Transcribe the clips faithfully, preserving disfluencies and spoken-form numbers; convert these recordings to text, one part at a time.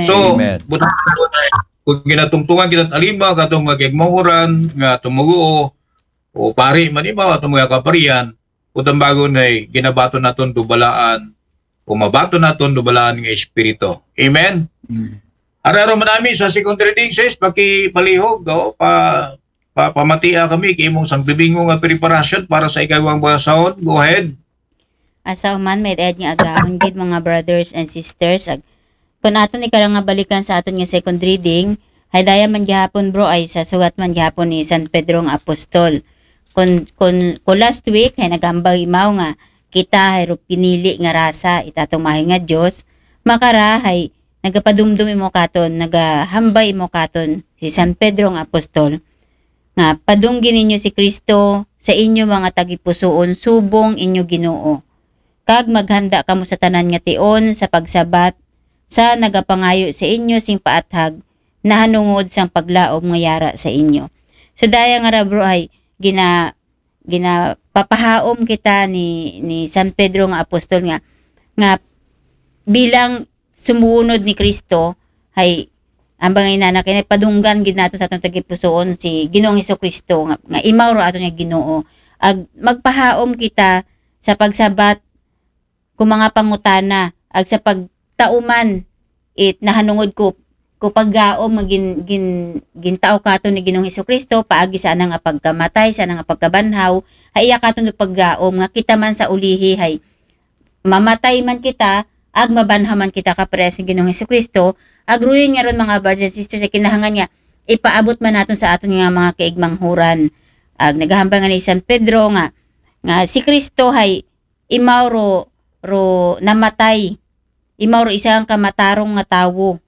So, Amen. Buta, kung ginatungtungan kita talima katong mga kigmahuran nga tumuguo o pari man ibaw atong mga kaparian, utang bago na ginabato naton dubalaan o mabato naton dubalaan nga espiritu. Amen. Mm. Araro man nami sa second reading, sis, pakipalihog, o, pa, pa pamatia kami kay imong sang bibingo nga preparasyon para sa ikawang basahon. Go ahead. Asa human may edad nga agahon gid, mga brothers and sisters. Ag, kung aton ikaw nga balikan sa aton nga second reading, hay daya man gihapon, bro, ay sa sugat man gihapon ni San Pedro nga apostol. Kung, kung, kung last week hay nagambag imaw nga kita hay ro pinili nga rasa, itatong mahay nga Dios, makara hay nagapadumdum imo katon, nagahambay imo katon si San Pedro nga apostol nga padunggi ninyo si Kristo sa inyo mga tagipusoon subong inyo Ginoo. Kag maghanda kamo sa tanan nga tion sa pagsabat sa nagapangayo sa inyo sing paathag nahanungod sang paglaom nga yara sa inyo. So daya nga ra, bro, ay gina ginapapahaom kita ni ni San Pedro nga apostol nga nga bilang sumuunod ni Kristo, hay ambang inana kay padunggan gid nato sa atong tagipusoon si Ginoong Hesus Kristo nga, nga imaw ro ato nga Ginoo. Ag magpahaom kita sa pagsabat kung mga pangutana ag sa pagtauman it nahanungod ko ko paggaom nga gin, gin, gintao kato ni Ginoong Hesus Kristo paagi sa ana nga pagkamatay, sa ana nga pagkabanhaw, hay iya katon do paggaom nga kita man sa ulihi hay mamatay man kita, ag mabanhaw man kita kaparehas ni Ginoong Hesus Kristo. Ag ruyon nga ron, mga brothers and sisters, ay kinahangan nga ipaabot man naton sa aton nga mga kaigmanghuran. Ag nagahambal nga ni San Pedro nga nga si Kristo hay imaw ro, ro namatay. Imaw ro isang kamatarong nga tawo.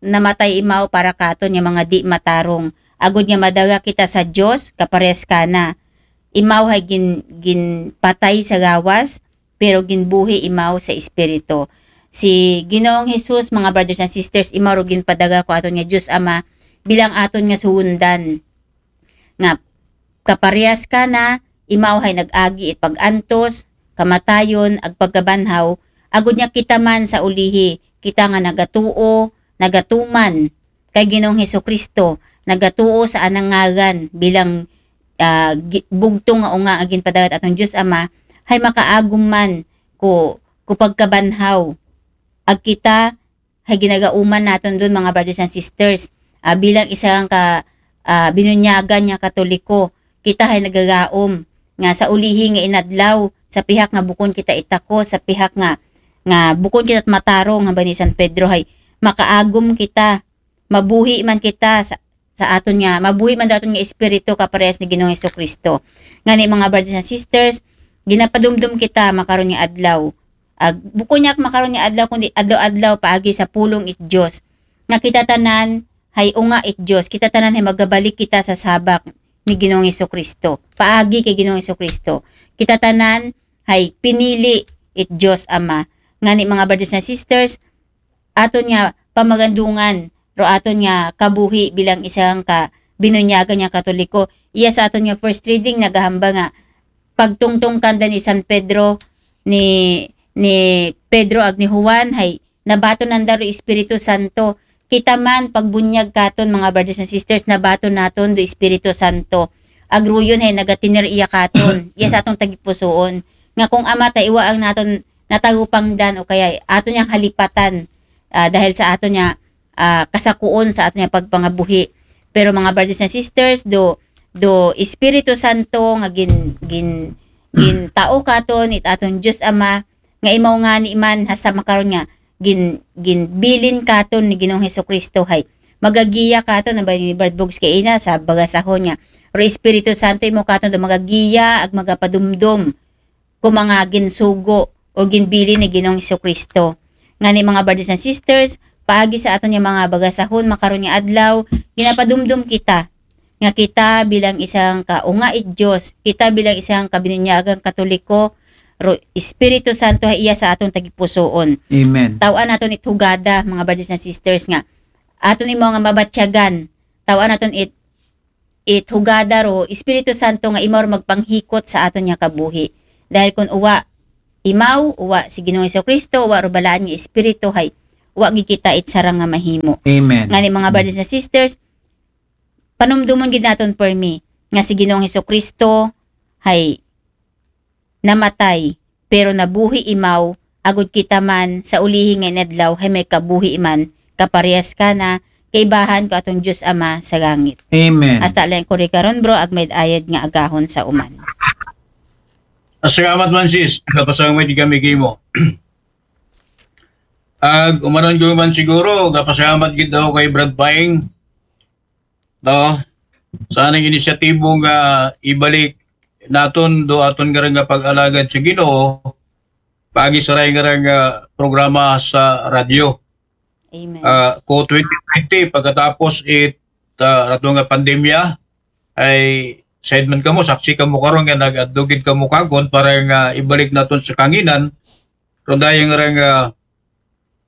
Namatay imaw para katon nga mga di matarong. Agod nga madaga kita sa Dios, kaparehas kana. Imaw hay gin, ginpatay sa gawas, pero ginbuhi imaw sa espiritu. Si Ginoong Hesus, mga brothers and sisters, imaw ro ginpadaga ko aton nga Dios Ama bilang aton nga suundan. Nga kaparehas kana, imaw hay nag-agi it pag-antos, kamatayon, ag pagkabanhaw, agod nga kita man sa ulihi, kita nga nagatuo, nagatuman kay Ginoong Hesus Kristo, nagatuo sa anang ngaran bilang ah, gi- bugtong nga unga nga ginpadagat atong Dios Ama, hay makaagom man ko ko pagkabanhaw. Ag kita hay ginagauman naton dun, mga brothers and sisters. Ah, bilang isang ka ah, binunyagan nga Katoliko, kita hay nagagaom nga sa ulihi nga inadlaw, sa pihak nga bukon kita itako, sa pihak nga nga bukon kita matarong, hambal ni San Pedro, hay makaagom kita, mabuhi man kita sa, sa aton nga, mabuhi man daw aton nga espiritu kaparehas ni Ginoong Hesus Kristo. Ngani, mga brothers and sisters, ginapadumdum kita makaron nga adlaw. Ag, bukon niya makaron nga adlaw, kundi adlaw-adlaw paagi sa pulong it Dios. Nga kita tanan hay unga it Dios, kita tanan hay magabalik kita sa sabak ni Ginoong Hesus Kristo. Paagi kay Ginoong Hesus Kristo, kita tanan hay pinili it Dios Ama. Ngani, mga brothers and sisters, aton nga pamagandungan ro aton nga kabuhi bilang isang ka binunyagan nga Katoliko. Iya sa aton nga first reading nagahamba nga pagtungtong kanda ni San Pedro, ni ni Pedro ag ni Juan, hay nabaton nanda ro Espiritu Santo. Kita man pagbunyag katon, mga brothers and sisters, nabaton naton do Espiritu Santo. Ag ruyon hay nagatinir iya katon, iya sa aton tagipusoon. Nga kung amat hay iwa ang naton natagupangdan o kaya aton yang halipatan, ah, dahil sa aton nga ah, kasakuon sa aton nga pagpangabuhi. Pero, mga brothers and sisters, do do Espiritu Santo nga gin gin gintao katon it aton Dios Ama, nga imaw ngani man hasta makaron nga gin ginbilin katon ni Ginoong Hesukristo, hay magagiya katon, na ba ni Brad Books kay ina sa bagasahon nga, ro Espiritu Santo, imo katon do magagiya ag magapadumdom ko mga ginsugo o ginbilin ni Ginoong Hesukristo. Ngani, mga brothers and sisters, paagi sa aton nga mga bagasahon makaron nga adlaw, ginapadumdom kita nga kita bilang isang kaunga it Dios, kita bilang isang kabinunyagang Katoliko, ro Espiritu Santo hay iya sa aton tagipusoon. Amen. Taw-an naton it hugada, mga brothers and sisters, nga aton imo nga mabatyagan. Taw-an naton it it hugada ro Espiritu Santo nga imaw ro magpanghikot sa aton nga kabuhi. Dahil kun uwa imaw, uwa si Ginoong Hesukristo, uwa ro balaan nga Espiritu, hay wa gid kita it sarang nga mahimo. Amen. Ngani, mga brothers and sisters, panumdumon gid naton permi nga si Ginoong Hesukristo hay namatay, pero nabuhi imaw, agud kita man sa ulihi nga inadlaw hay may kabuhi man kaparehas kana, kaibahan ko atong Dios Ama sa langit. Amen. Hasta lang ko rin karon, bro, agmay ayad nga agahon sa uman. Salamat man, sis. Gapasalamat gid kami kimo. Ag umanon ko man siguro, gapasalamat gid ako kay Brad Paing, no? Sa anang inisyatibo nga ibalik naton do aton nga nga pag-alagad sa Ginoo, pagi sa ray nga nga programa sa radyo. Amen. Ah, ko twenty twenty, pagkatapos it ah, ato nga pandemya, ay said man kamo, saksi kamo karon nga nag-advocate kamo kagon para nga ibalik naton sa kanginan ron dayang nga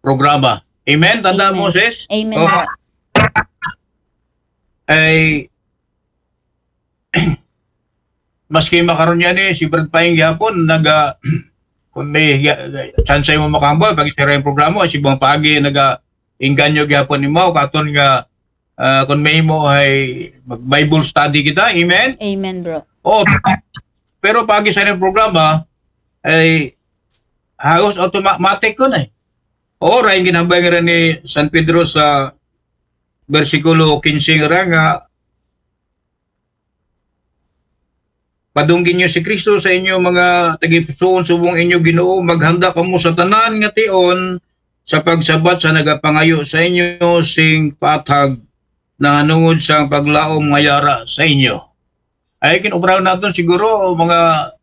programa. Amen? Tanda Amen. mo, sis? Amen, Oh. bro. Ay maski makaron yan eh, si Brad Paing gyapon naga kung may ga- ga- chance mo makambal pag isira yung programa, si Bang Paagi naga inganyo gyapon nimo katon nga ah, kung may mo ay mag Bible study kita. Amen? Amen, bro. Oh, pero pagi sa yung programa ay halos automatic ko na eh. Oo, ray ginambay nga rin ni San Pedro sa bersikulo quince nga ra nga padunggi niyo si Kristo sa inyo mga tagipusoon subong inyo Ginoo, maghanda kamo sa tanan nga tion sa pagsabat sa nagapangayo sa inyo sing paathag nahanungod sa paglaom nga yara sa inyo. Ay kinubraw naton siguro mga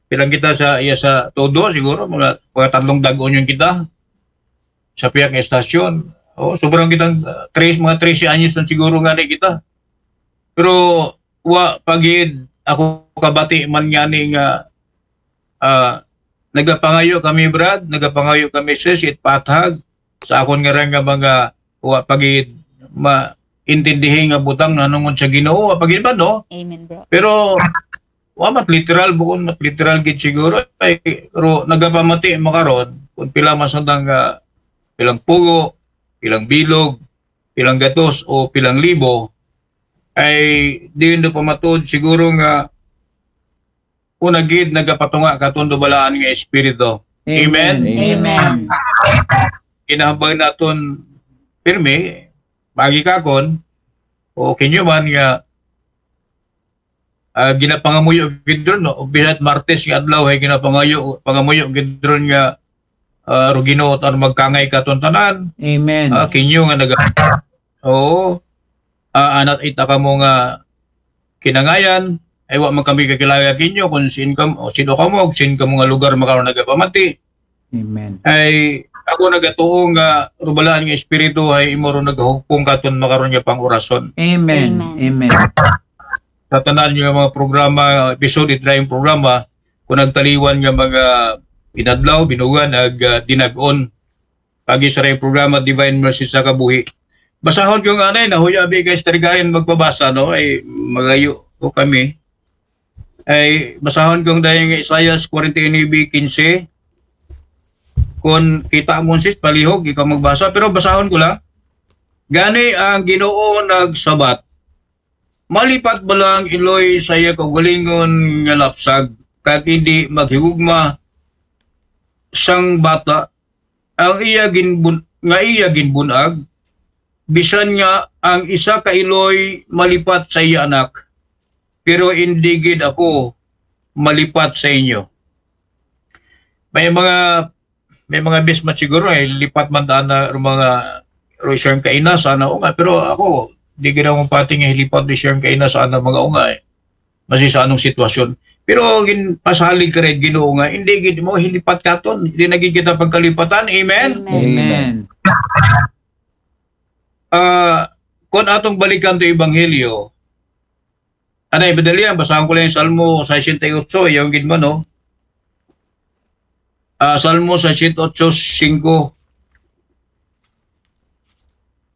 pilang kita sa iya sa todo siguro mga mga tatlong dag-on yun kita sa pihak nga estasyon. Oh, sobrang kitang uh, tres mga trese anyos na siguro nga ni kita. Pero wa pagid ako kabati man nga ni nga ah, nagapangayo kami, Brad, nagapangayo kami, sis, it paathag sa akon nga ra nga mga wa pagid maintindihi nga butang nanungod sa Ginoo, wa pagid ba, no? Amen, bro. Pero wa mat literal, bukon mat literal gid siguro ay pero nagapamati makaron kung pila masandang nga pilang pugo, pilang bilog, pilang gatos o pilang libo ay diin do pamatuod siguro nga una gid nagapatunga katon do balaan nga espiritu. Amen. Amen. Kinahambal naton pirmi, magi kakon o kinyo man nga ah, ginapangamuyo gid ron, no? Bisan Martes nga adlaw ay ginapangayo pangamuyo gid ron nga ah, ro Ginoo tan magkangay katon tanan. Amen. Ah, kinyo nga naga Oo. Ah, anat ita kamo nga kinangayan ay wa man kami kakilala kinyo kung sin kam o sino kamo ug sin kamo nga lugar makaron nagapamati. Amen. Ay ako nagatuo nga rubalaan nga espiritu ay imo ron nagahugpong katon makaron nga pangurason. Amen. Amen. Amen. Sa tanan nga mga programa, episode it dayong programa, kung nagtaliwan nga mga inadlaw, binugan ag ah, dinag-on pagi sa ray programa Divine Mercy sa Kabuhi. Basahon ko nga anay, nahuya abi kay Sister Karen magpabasa, no? Ay magayo ko kami. Ay basahon kong dayong Isaiah forty-nine quince. Kung kita mo sis palihog ikaw magbasa, pero basahon ko lang. Gani ang Ginoo nagsabat, malipat ba lang iloy sa iya kaugalingon nga lapsag, kag hindi maghigugma sang bata ang iya ginbun nga iya ginbunag, bisan nga ang isa ka iloy malipat sa iya anak, pero hindi gid ako malipat sa inyo. May mga may mga bis man siguro ay lipat man daan na ro mga ro siyang kaina sana o nga, pero ako di gid ako pati nga hilipat di siyang kaina sana mga unga eh. Masi sa anong sitwasyon. Pero gin pasalig ka rin Ginoo nga hindi gid mo hilipat katon, hindi na gid kita pagkalipatan. Amen. Amen. Amen. Ah, kung atong balikan to ebanghelyo, anay madali yan, basahan ko lang yung Salmo sixty-eight, yung gid man, no? Ah, Salmo sixty-eight, five.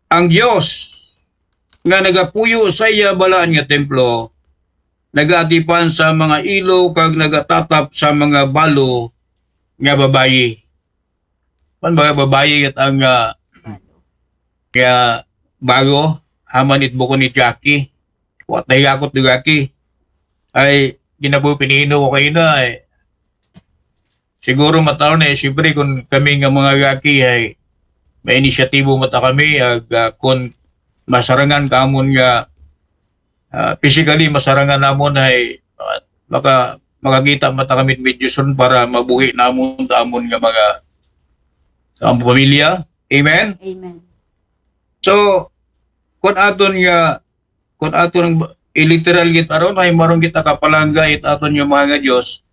Ang Dios nga nagapuyo sa iya balaan nga templo, nagaatipan sa mga ilo kag nagatatap sa mga balo nga babayi. man, mga babayi ket ang, ah, nga baro, aman it bukon it gaki. Wa ta higakot do gaki. Ay, di na po pinino ko kayo na, eh. Siguro mataon na, eh, siyempre, kung kami nga mga gaki ay may inisyatibo mata kami, ag, ah, kung masarangan ka amon nga, ah, physically masarangan namon ay, ah, maka-, makakita mata kami medyo soon para mabuhi namon ta amon nga mga, sa amon pamilya. Amen? Amen. So, kung aton nga, kung aton iliteral gid aron ay maron kita kapalangga it aton nga mga nga Dios,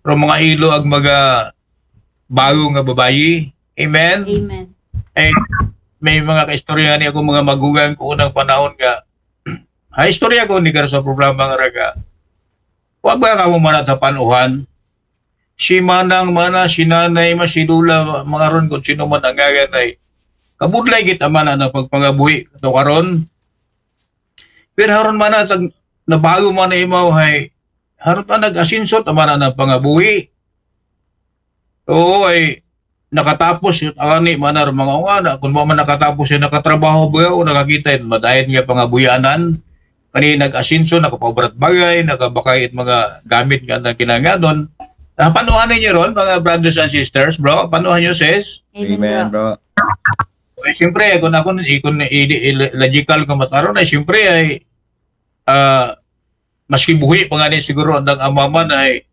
pero mga ilo ag mga bago nga babayi. Amen? Amen. Eh, may mga kaistorya ni ako mga magugang ko unang panahon nga. Ha, istorya ko ni kar sa programa nga raga. Wa ba ka mo manat sa panuhan? Si manang mana, si nanay ma, si lula, mga ron kung sino man ang ngagan ay. Kabudlay kita mana na pagpangabuhi to karon. Pero haron mana tag nabago man na imaw hay. Haron ta nag-asinso ta mana na pangabuhi. Oo, ay nakatapos yun ani mana ron mga ungana. Kung mo man nakatapos yung nakatrabaho ba o nakakita yun, madayon nga pangabuyanan. Kani nag-asinso, nakapaubrat bagay, nakabakay it mga gamit nga na kinanganon. Ah, panuhan ninyo ron, mga brothers and sisters, bro? Panuhan nyo, sis? Amen, bro. Bro. Eh, siyempre, kung ako, kung i-, i-, logical ko mataron, ay siyempre ay, ah, maski buhi pa nga ni siguro ang amaman ay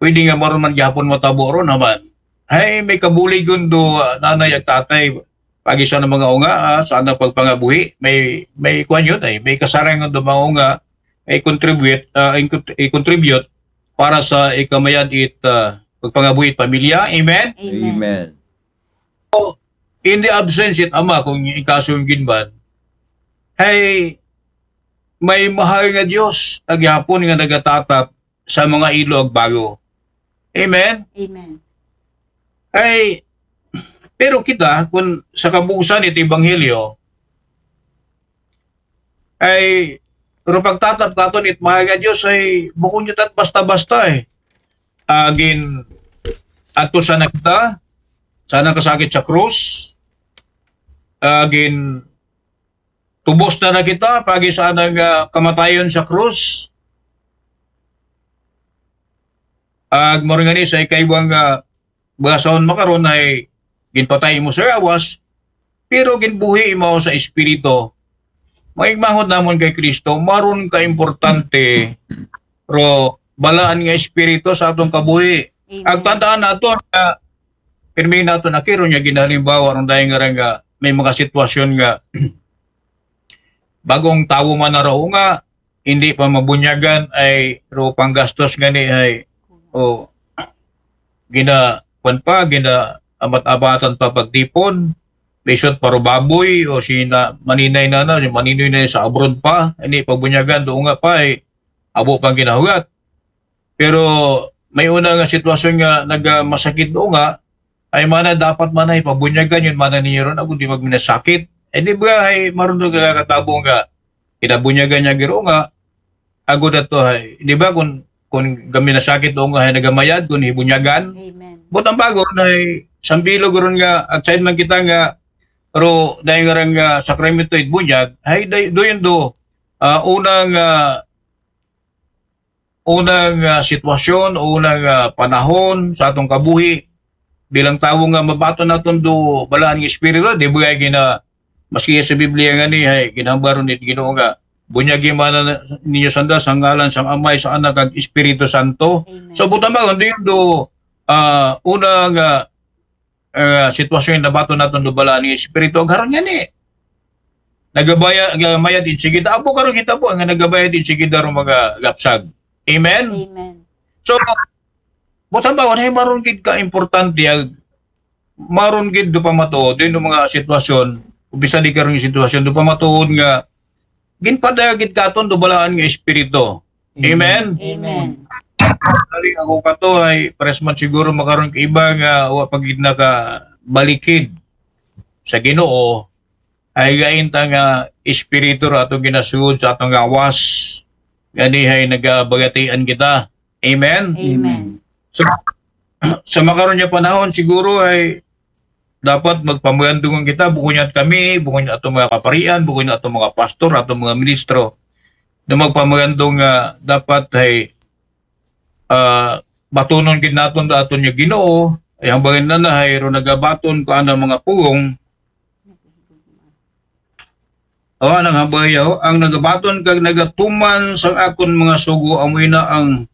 pwede nga maron man gihapon matabo ron naman. Ay, may kabulig yun do, ah, nanay at tatay, pagi sa mga unga, ah, sa anang pagpangabuhi, may, may kwan yun ay, may kasarangan do mga unga, ay contribute, ah, i-, i-contribute para sa ikamayad it, ah, pagpangabuhi it pamilya. Amen? Amen. Amen. In the absence it ama, kung ikaso yung ginban, ay may mahal nga Diyos, agyapon nga nagatatap sa mga ilo ag bago. Amen? Amen. Ay, pero kita, kung sa kabuusan ito ebanghelyo, ay, pero pagtatap naton it mahal nga Diyos ay bukon niya tat basta-basta eh. Agin, ato sana kita, sana kasakit sa krus, agin, tubos na na kita, pagi sana nga kamatayon sa krus, ag maringani sa ikaibang nga basaon makaron ay ginpatay mo sa awas, pero ginbuhi mo sa espiritu. Maigmahod namon kay Kristo, maron ka importante, ro balaan nga espiritu sa atong kabuhi. Amen. Ag tandaan nato nga pirmi nato na kiro niya ginahalimbawa ron dahil nga, nga may mga sitwasyon nga bagong tawo man na raw nga hindi pa mabunyagan ay ro panggastos gani ay o gina kwan pa gina amat-abatan pa pagtipon, bisot paro baboy o si na maninay na na si maninoy na sa abroad pa hindi pabunyagan do nga pa ay abo pang ginahugat. Pero may una nga sitwasyon nga nagamasakit do nga ay mana dapat mana ipabunyagan yun mana ninyo ron ako di magminasakit. Eh di ba ay marundo ka katabo nga kinabunyagan niya giro nga agod ato ay di ba kung kung gaminasakit do nga ay nagamayad kung hibunyagan. Amen. But ang bago na ay sambilog ron nga outside man kita nga ro dahil nga rang nga sakramento it bunyag ay day- do yun do ah, unang ah, unang ah, sitwasyon, unang ah, panahon sa atong kabuhi bilang tawo nga mabaton naton do balaan nga espiritu, di ba gina maski sa Biblia nga ni ay ginambaron it Ginoo nga bunyagi man ninyo sanda sa ngalan sang Amay, sa Anak, kag Espiritu Santo. Amen. So buta ba kung di do ah, unang ah, ah, sitwasyon nga nabaton naton do balaan nga espiritu ag haron nga ni nagabaya gamayad in sigida abo karon kita po nga nagabayad in sigida ro mga gapsag. Amen. Amen. So, buta ba wala maron gid ka importante ag maron gid do pamatuod din mga sitwasyon, umpisa di karon yung sitwasyon do pamatuod nga ginpadayag gid katon do balaan nga espiritu. Amen. Amen. Dali ako kato ay pares man siguro makaron ka iba nga wa pa gid nakabalikid sa Ginoo ay gain ta nga espiritu ra atong ginasugod sa atong gawas. Gani ay nagabagatian kita. Amen. Amen. So, sa makaron nga panahon siguro ay dapat magpamagandungan kita, bukon niya kami, bukon niya aton mga kaparian, bukon niya aton mga pastor, aton mga ministro, na magpamagandong nga dapat ay ah, batunon gid naton da aton nga Ginoo, ay ang bangin na na, ay ro nagabaton ko anang mga pulong. O, anang hambayaw, ang nagabaton kag nagatuman sang akon mga sugo, amoy na ang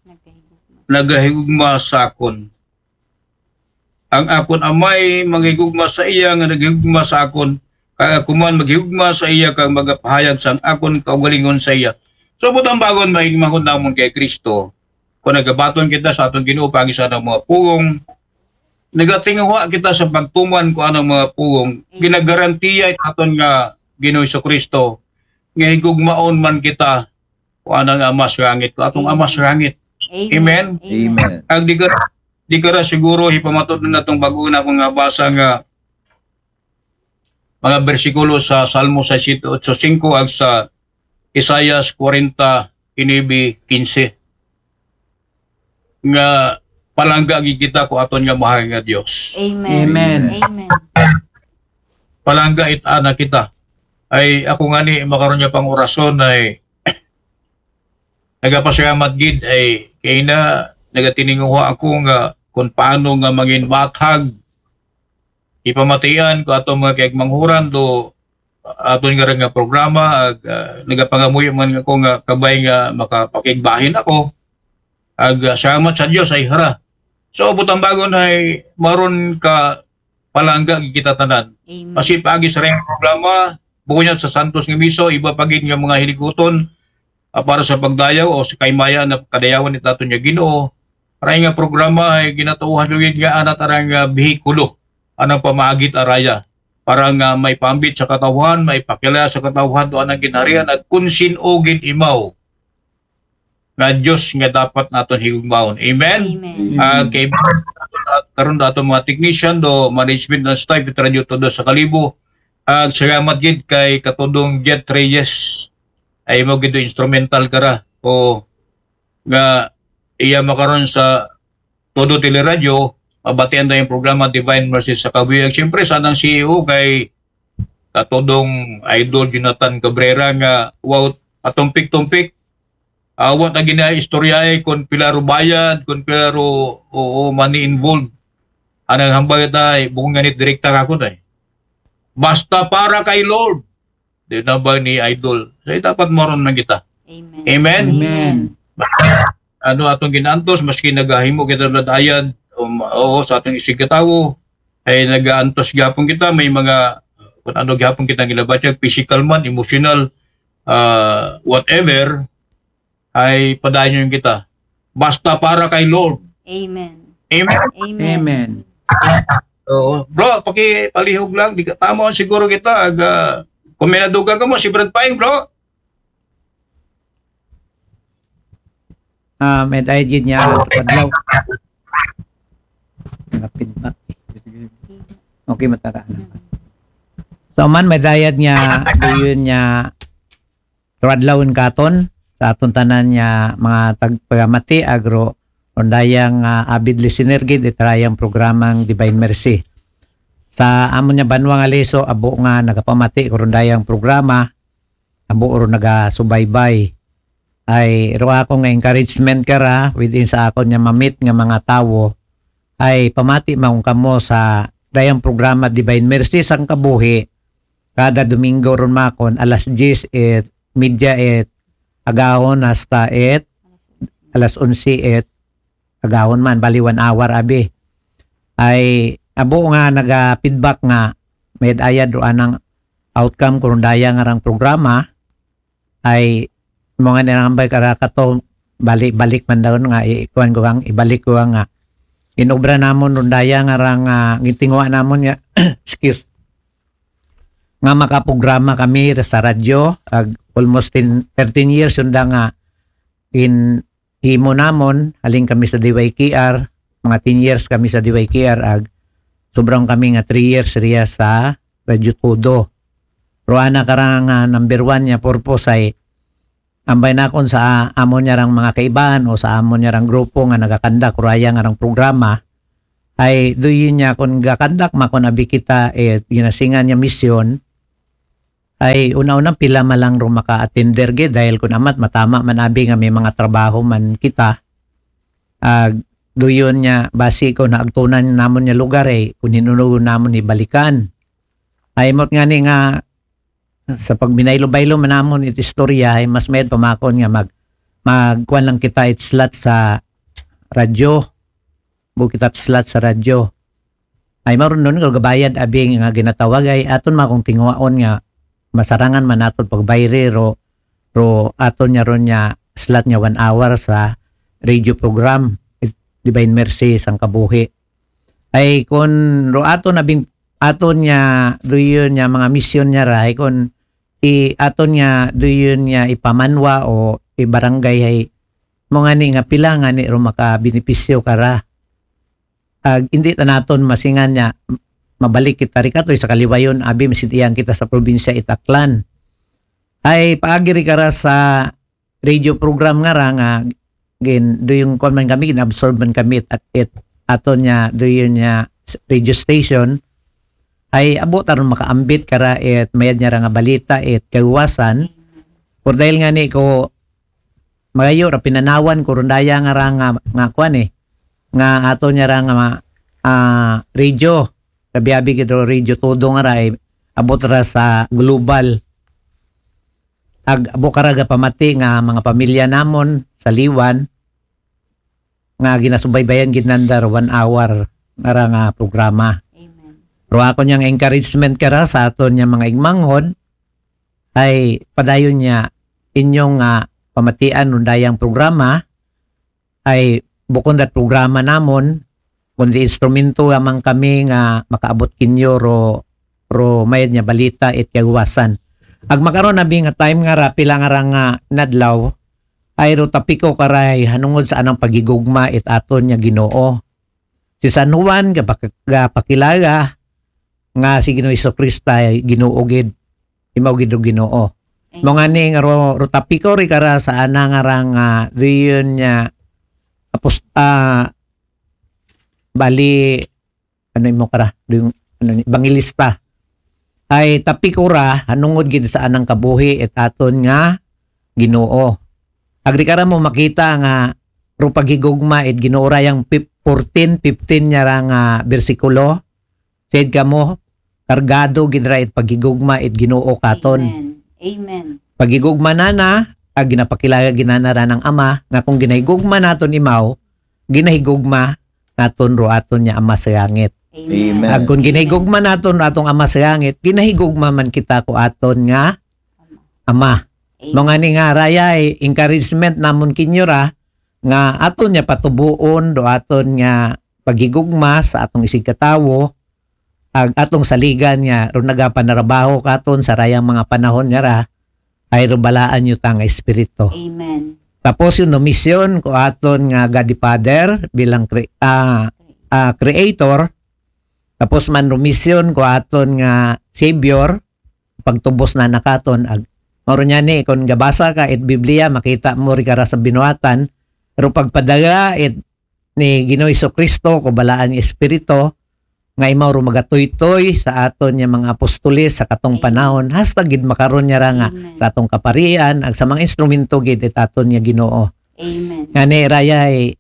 nagahigugma sa akon. Ang akon Amay manghigugma sa iya nga naghigugma sa akon, kag ako man maghigugma sa iya kag magapahayag sang akon kaugalingon sa iya. So, butang bagon, maigmahon namon kay Kristo. Kung nagabaton kita sa atong Ginoo, pagi sa anang mga pulong, nagatinguha kita sa pagtuman ko anang mga pulong, ginagarantiya it aton nga Ginoo Jesucristo nga higugmaon man kita ko anang Ama sa langit, ko atong Ama sa langit. Amen. Amen. Ag di ka, di ka ra siguro hipamatud na natong bag-o na akong nga basa nga mga bersikulo sa Salmo sixty-eight eight five ag sa Isaias forty-nine fifteen nga palangga gid kita ko aton nga mahal nga Dios. Amen. Amen. Amen. Palangga it ana kita. Ay ako ngani makaron nga pang orason ay nagapasalamat gid ay kay na nagatininguha ako nga kung paano nga mangin mathag ipamatian ko ato mga kaigmanghuran do aton nga nga programa ag ah, nagapangamuyo man ako nga kabay nga makapakigbahin ako ag ah, salamat sa Dios ay hara. So butang bagon ay maron ka palangga gid kita tanan. Amen. Kasi paagi sa rayong programa, bukon niya sa Santos nga Miso, iba pa gid nga mga hilikuton ah, para sa pagdayaw o sa kaymaya na kadayawan ni taton nga Ginoo. Aray nga programa ay ginatuohan gid nga anat arang nga behikulo anang pamaagit araya para nga may pambit sa katawhan, may pakilaya sa katawhan to anang ginharian ag kun sin-o gid imaw nga Dios nga dapat naton higugmaon. Amen? Amen. Ah, kay karon do aton mga technician do management ng staff it Radyo Todo sa Kalibo. Ag salamat gid kay Katudong Jet Reyes. Ay mo gid do instrumental kara. O nga iya makaron sa Todo Teleradyo, mabatian na yung programa Divine Mercy sa Kabuhi. Ag siyempre sa anang C E O kay Katudong Idol Jonathan Cabrera nga wow, patumpik-tumpik. Awat na gina istorya eh, kung pila ro bayad, kung pila ro oo, money involved. Anang hambal ta, eh, bukon ganit direkta ka ko na eh. Basta para kay Lord. Di na ba ni Idol? Say, dapat moron man kita. Amen. Amen? Amen. Ano atong ginaantos, maski nagahimo kita ng ayad, um, oo, sa atong isigkatawo, ay nagaantos gyapon kita, may mga, kung ano gyapon kita gilabatyag, physical man, emotional, ah, whatever, ay padayon kita. Basta para kay Lord. Amen. Amen? Amen. Amen. Oo. Bro, pakipalihog lang. Di ka, tama siguro kita. Ag, ah, kung may naduga ka mo, si Brad Paing, bro. Ah, may dayad gid niya, Padlaw. Napin pa. Okay, matara na. So, man, may dayad niya, doon niya, Radlawon katon sa aton tanan nga mga tagpagamati, agro rondayang ah, avid listener gid itarayang programang Divine Mercy. Sa amon nga banwa nga Lezo, abo nga nagapamati ko rondayang programa, abo ro nagasubaybay. Ay ro ako nga encouragement kara within sa akon nga mamit nga mga tawo, ay pamati man kamo sa dayang programa Divine Mercy sang kabuhi, kada Domingo ron makon, alas diyes it media it agahon hasta it alas onse it agahon man, bali one hour abi. Ay abo nga naga-feedback nga may ayad ro anang outcome ko rondaya nga rang programa, ay mo nga nirambay kara kato, balik-balik man daw nga ikuan ko kang ibalik ko nga inobra namon rondaya nga rang ah, gitinguha namon nga excuse, nga makaprograma kami sa radyo ag almost ten, thirteen years yun da nga in himo namon, haling kami sa D Y K R, mga ten years kami sa D Y K R ag sobrang kami nga three years riya sa Radyo Todo. Pero ana karang ah, number one nga purpose ay ambay nakon sa amon niya rang mga kaibaan o sa amon niya rang grupo nga nagakandak raya nga rang programa, Ay, do yun niya, kung gakandak ma, kung abi kita, eh, ginasingan niya misyon, ay, una-una, pila malang ro maka-attender gid, dahil kung amat, matama man abi nga may mga trabaho man kita. Ag, do yun niya, basi ko na agtunan namon niya lugar, eh, kung hinunugon namon ibalikan. Ay, mot nga ni nga, sa pagminaylo-baylo man namon it istorya, ay mas mayad pamakon nga mag, magkuan lang kita it slot sa radyo. Bu kita slot sa radyo. Ay, maron nun, kung gabayad, abi nga ginatawag, ay aton makong tinguhaon nga masarangan man naton pagbayri, ro, ro aton niya ron niya slot niya one hour sa radio program, Divine Mercy, sang kabuhi. Ay, kung ro aton abing, aton niya, do yun niya, mga misyon niya ra, ay, kung i, aton niya, do yun niya, ipamanwa o ibarangay, ay, mo nga ni nga pila nga ni ro makabenepisyo kara. Ag, hindi ta naton masingan niya, mabalik kita ri katoy sa kaliwayon, abi, masintiyan kita sa probinsya it Aklan. Ay, paagi ri kara sa radio program nga ra nga, gin, do yung kwan man kami, gin-absorb man kami at, it, aton niya, do yun niya, s-, radio station, ay, abo taron makaambit kara it mayad niya ra nga balita, it kaluwasan. Por dahil nga ni ko, magayo ra pinanawan ko ron daya nga ra nga, nga kwan, eh, nga aton niya ra nga, ah, radio. Kabi-abi gid ro Radio Todo nga ra, eh, abot ra sa global. Ag, abo kara gapamati nga mga pamilya namon sa Liwan nga ginasubaybayan gid nanda ro one hour nga ra nga programa. Amen. Pero ako niyang encouragement kara sa aton niya mga igmanghod, ay padayon niya inyong nga pamatian ron dayang programa, ay bukon dat programa namon, kundi instrumento lamang kami nga makaabot kinyo ro, ro mayad niya balita it kaluwasan. Ag makaron abi nga time nga ra, pila nga ra nga nadlaw, ay ro tapiko karay hanungod sa anang pagigugma it aton niya Ginoo. Si San Juan, gapak-, gapakilala nga si Ginoo Jesucristo ay Ginoo gid, imaw gid ro Ginoo. Mo nga ni nga ro, ro tapiko ri kara sa ana nga ra nga, do yun niya, apos-, ah, bali, ano imo kara, do yung, ano ni, evangelista. Ay tapiko ra, hanungod gid sa anang kabuhi, it aton nga Ginoo. Agri kara mo makita nga, ro paghigugma, it Ginoo ra yang fif-, fourteen, fifteen niya ra nga bersikulo. Said ka mo, kargado gid ra it paghigugma, it Ginoo katon. Amen. Amen. Paghigugma nana, ag ginapakilala ginana ra ng Ama, nga kung ginahigugma naton imaw, ginahigugma naton ro aton niya Ama sa langit. Amen. Amen. Ag kung ginahigugma naton ro atong Ama sa langit, ginahigugma man kita ko aton nga Ama. Amen. Mo nga ni nga raya, eh, encouragement namon kinyo ra, nga aton niya patubuon do aton nga paghigugma sa atong isigkatawo, ag atong saligan nga ro nagapanarabaho katon sa rayang mga panahon nga ra, ay ro balaan niyo ta nga espiritu. Amen. Tapos yung misyon ko aton nga God the Father bilang cre-, ah, ah, creator. Tapos man ro misyon ko aton nga Savior, pagtubos na nakaton. Ag, mauro niya ni, kung gabasa ka it Biblia, makita mo ri kara sa binuhatan, pero pagpadala it ni Ginoo Jesucristo, ko balaan nga Espiritu, nga imaw ro magatuytoy sa aton niya mga apostoles sa katong Amen. Panahon, hasta gid makaron niya ra nga Amen. Sa atong kaparian, ag sa mga instrumento gid it aton niya Ginoo. Amen. Nga ni raya, eh,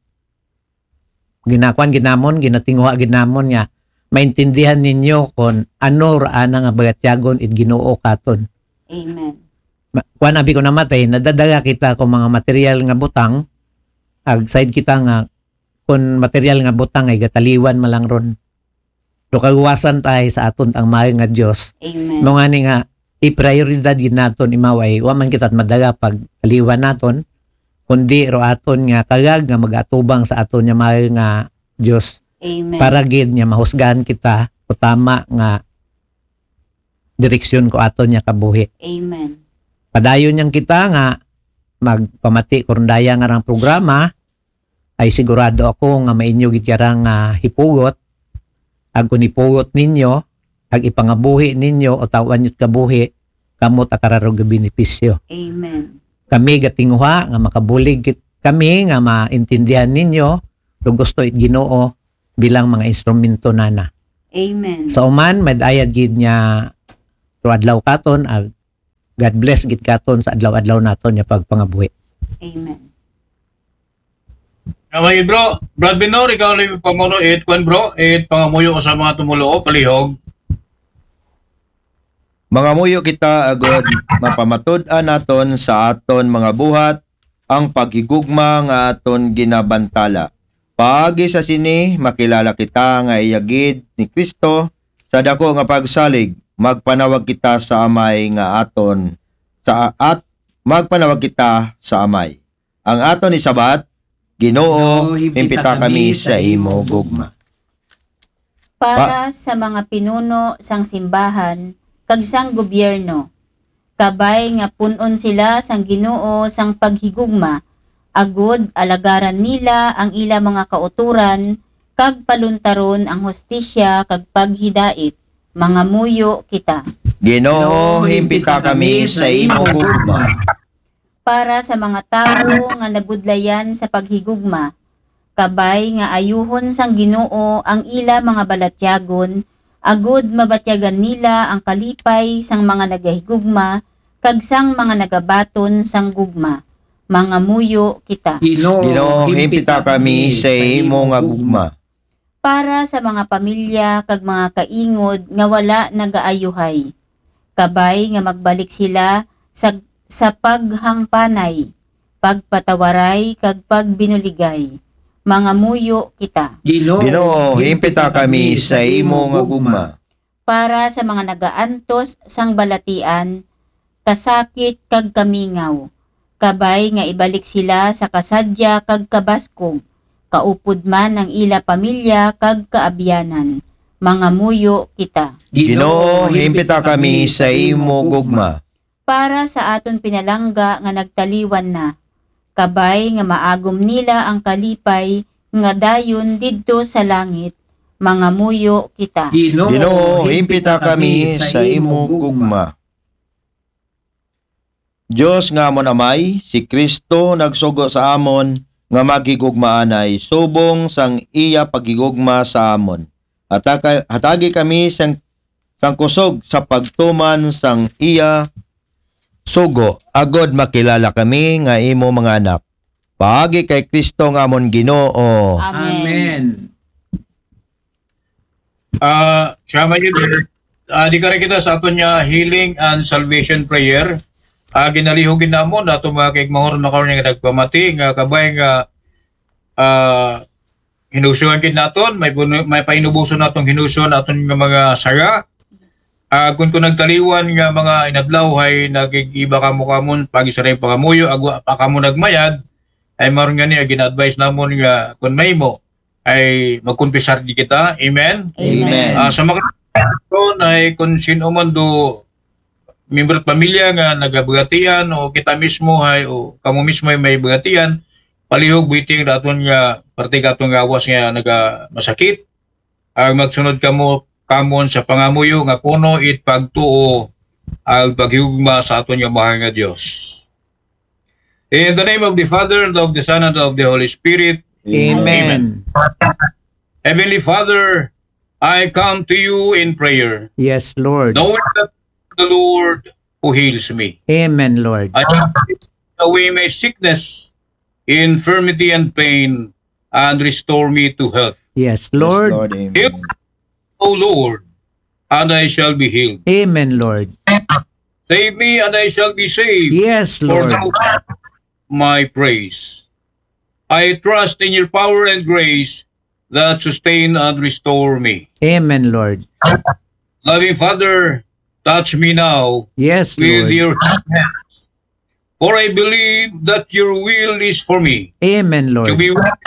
ginakuan gid namon, ginatinguha gid namon nga maintindihan ninyo kung ano ra ana nga bagatyagon it Ginoo katon. Amen. Ma-, kuan abi ko namatay, nadadala kita ko mga material nga butang, ag side kita nga kung material nga butang ay gataliwan man lang ron. Do kaluwasan tayo sa aton ang mahal nga Dios. Amen. Mo nga ni nga, i-prioridad gid naton imaw ay wa man kita madala pag kaliwan naton, kundi ro aton nga kagag nga magatubang sa aton nga mahal nga Dios Amen. para gid nga mahusgahan kita ko tama nga direksyon ko aton nga kabuhi. Amen. Padayon niyang kita nga magpamati ko ron daya nga rang programa, ay sigurado ako nga mainyo gid kara nga hipugot, ag kung hipugot ninyo, ag ipangabuhi ninyo o tawan niyo't kabuhi, kamo ta kara ro gabenepisyo. Amen. Kami gatinguha nga makabulig kit-, kami nga maintindihan ninyo, do gusto it Ginoo, bilang mga instrumento nana. Amen. Sa uman, madayad gid nga tuadlaw katon, ag God bless gid katon sa adlaw-adlaw naton nga pagpangabuhi. Amen. Kamay bro, Brad Binor, ikaw ni pamuno it kwan bro, it pangamuyo sa mga tumuluo, palihog. Mangamuyo kita agod mapamatud-an naton sa aton mga buhat ang paghigugma nga aton ginabantala. Paagi sa sini, makilala kita nga iyagid ni Kristo sa dako nga pagsalig, magpanawag kita sa Amay nga aton sa at magpanawag kita sa Amay. Ang aton isabat, Ginoo, himpita kami sa imo gugma. Para sa mga pinuno sang simbahan kag sang gobyerno, kabay nga pun-on sila sang Ginoo sang paghigugma, agud alagaran nila ang ila mga kauturan kag paluntaron ang hustisya kag paghidait. Mangamuyo kita. Ginoo, himpita kami sa imo gugma. Para sa mga tawo nga nabudlayan sa paghigugma, kabay nga ayuhon sang Ginoo ang ila mga balatyagon, agud mabatyagan nila ang kalipay sang mga nagahigugma kag sang mga nagabaton sang gugma. Mangamuyo kita. Ginoo, himpita kami sa imo nga gugma. Para sa mga pamilya kag mga kaingod nga wala nagaayuhay, kabay nga magbalik sila sa, sa paghangpanay, pagpatawaray kag pagbinuligay. Mangamuyo kita. Ginoo, himpita kami sa imo nga gugma. Para sa mga nagaantos sang balatian, kasakit kag kamingaw, kabay nga ibalik sila sa kasadya kag kabaskog, kaupod man ang ila pamilya kag kaabyanan. Mangamuyo kita. Ginoo, himpita kami sa imo gugma. Para sa aton pinalangga nga nagtaliwan na, kabay nga maagom nila ang kalipay nga dayon didto sa langit. Mangamuyo kita. Ginoo, himpita kami sa imo gugma. Dios nga amon Amay, si Kristo nagsugo sa amon nga maghigugmaanay subong sang iya paghigugma sa amon. Hataka- hatagi kami sang, sang kusog sa pagtuman sang iya sugo, agod makilala kami nga imo mga anak. Paagi kay Kristo nga amon Ginoo. Amen. Ah, siya may uh, di ka rin kita sa aton niya healing and salvation prayer. Ah, ginalihog gid namon ato mga kaigmahor na karon nga nagpamati nga kabay nga ah, hinusuhan gid naton, may bunu- may painubuson natong hinusuhan aton nga mga sara. Ah, kung kung nagtaliwan nga mga inadlaw hay nagigiba kamo kamon pag-isa rin pangamuyo, agwa pa kamo nagmayad, ay maron nga niya gina-advise namon nga kung may mo ay magkumpisar di kita. Amen. Amen. Ah, sa mga ito na ay kung sino man do miyembro at pamilya nga nagabagatian o kita mismo hay o kamo mismo ay may bagatian, palihog buiting daton nga parte katon nga awas nga naga masakit. Ang magsunod kamo kamon sa pangamuyo nga puno it pagtuo ang paghigugma sa aton nga mahal nga Dios. In the name of the Father, and of the Son, and of the Holy Spirit. Amen. Heavenly Father, I come to you in prayer, Yes, Lord. knowing that the Lord who heals me. Amen, Lord. I ask you to take away my sickness, infirmity, and pain, and restore me to health. Yes, Lord. Lord, amen. Heal, O Lord, and I shall be healed. Amen, Lord. Save me, and I shall be saved. Yes, For Lord. thou art my praise. I trust in your power and grace that sustain and restore me. Amen, Lord. Loving Father, touch me now Yes, with Lord. your hands. For I believe that your will is for me Amen, to Lord. be well,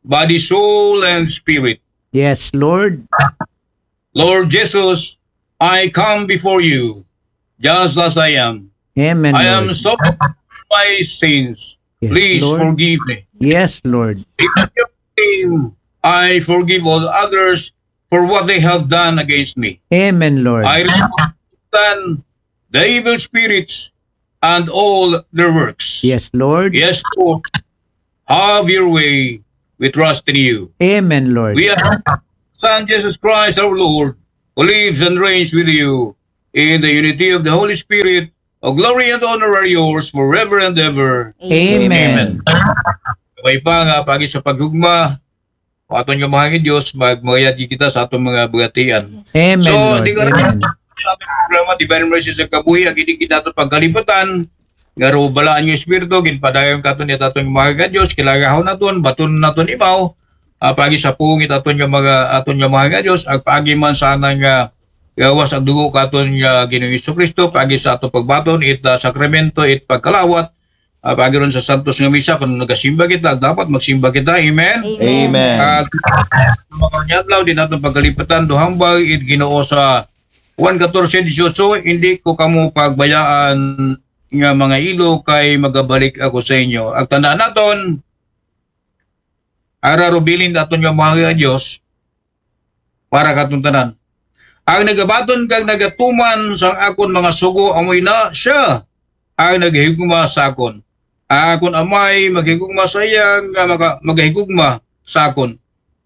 body, soul, and spirit. Yes, Lord. Lord Jesus, I come before you just as I am. Amen, I am Lord. sorry for my sins. Yes, Please Lord. Forgive me. Yes, Lord. In your name, I forgive all others for what they have done against me. Amen, Lord. I rebuke Satan, the evil spirits, and all their works. Yes, Lord. Yes, Lord. Have your way we trust in you. Amen, Lord. We ask Son Jesus Christ our Lord, who lives and reigns with you in the unity of the Holy Spirit, all glory and honor are yours forever and ever. Amen. May pa nga pagi sa paghugma, aton nga mahal nga Dios, magmayad kita sa atong mga bagatian. Amen, So, Lord. di ka Amen. Sa atong programa, Divine Mercy sa Kabuhi, ang hindi kita atong pagkalibutan, nga ro balaan nga Espiritu, ginpadayon katon ni atong mahal nga Dios, kilagahon naton, baton naton imaw, ah, pagi sa pungit aton nga mga, aton nga mahal nga Dios, ag pagi man sana nga gawas ang dugo katon nga Ginoong Hesus Kristo, pagi sa atong pagbaton, it ah, sakramento, it pagkalawat, ah, pagi ron sa santos nga misa, kung nagasimba kita, dapat magsimba kita. Amen? Amen. Ah, mga adlaw, di naton pagkalibutan, duhambal, it Ginoo sa Juan fourteen eighteen, hindi ko kamo pagbayaan nga mga ilo kay magabalik ako sa inyo. Ag tandaan naton, ara rubilin aton nga mahal nga Dios para katon tanan. Ang nagabaton kag nagatuman sa akon mga sugo, amoy na siya ang naghigugma sa akon. Ang akon amay maghigugma sa iya nga maga, magahigugma sa akon.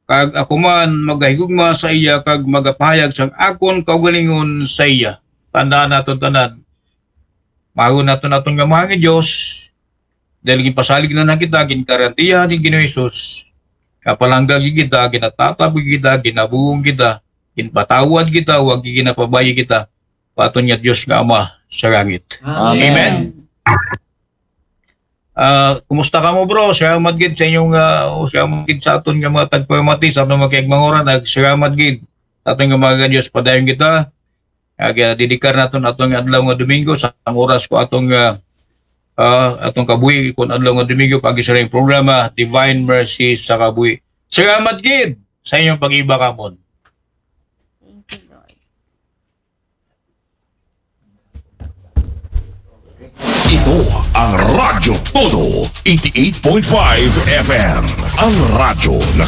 Kag ako man magahigugma sa iya kag magapahayag sang akon kaugalingon sa iya. Tandaan naton tanan. Mahal naton aton nga mahal nga Dios. Dahil ginpasalig na na kita, ginkarantiya ni Ginoong Hesus. Kapalangga kita, ginatatab kita, ginabuong kita, ginpatawad kita, wag ginapabayi kita. Paton nga Dios nga Ama sa langit. Amen. Ah, kumusta ka mo, bro? Salamat gid sa inyong ah, o salamat gid sa aton nga mga tagpamati sa atong mga kaigmangoran, ag salamat gid sa aton nga mga Dios, padayon kita. Ag ah, didikar naton atong adlaw nga Domingo sa ang oras ko atong ah, ah, atong kabuhi kun adlaw nga Domingo pag sa programa Divine Mercy sa Kabuhi. Salamat gid sa inyong pag-iba kamon. Thank you, Lord. Ito ang Radyo Todo, eighty-eight point five F M. Ang radyo ng